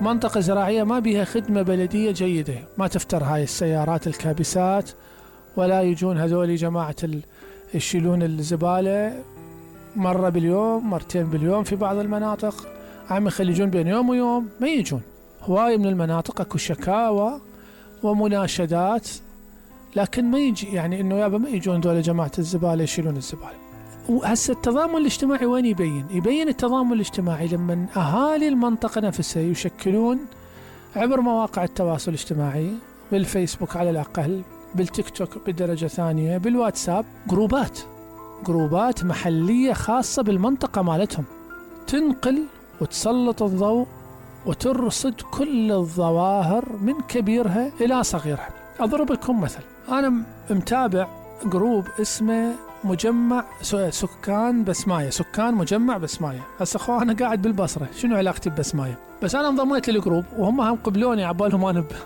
منطقة زراعية ما بيها خدمة بلدية جيدة، ما تفتر هاي السيارات الكابسات، ولا يجون هذول جماعة يشيلون الزبالة مرة باليوم مرتين باليوم. في بعض المناطق عم يخليجون بين يوم ويوم ما يجون. هواي من المناطق اكو شكاوى ومناشدات، لكن ما يجي يعني انه يابا ما يجون دول جماعة الزبالة يشيلون الزبالة. وهسه التضامن الاجتماعي وين يبين التضامن الاجتماعي لما اهالي المنطقة نفسها يشكلون عبر مواقع التواصل الاجتماعي، بالفيسبوك على الاقل، بالتيك توك بدرجة ثانية، بالواتساب، جروبات محلية خاصة بالمنطقة مالتهم، تنقل وتسلط الضوء وترصد كل الظواهر من كبيرها إلى صغيرها. أضرب لكم مثل، أنا متابع جروب اسمه مجمع سكان بسماية، سكان مجمع بسماية. هسه أخوة أنا قاعد بالبصرة، شنو علاقتي ببسماية؟ بس أنا انضميت للجروب وهم هم قبلوني عبالهم أنا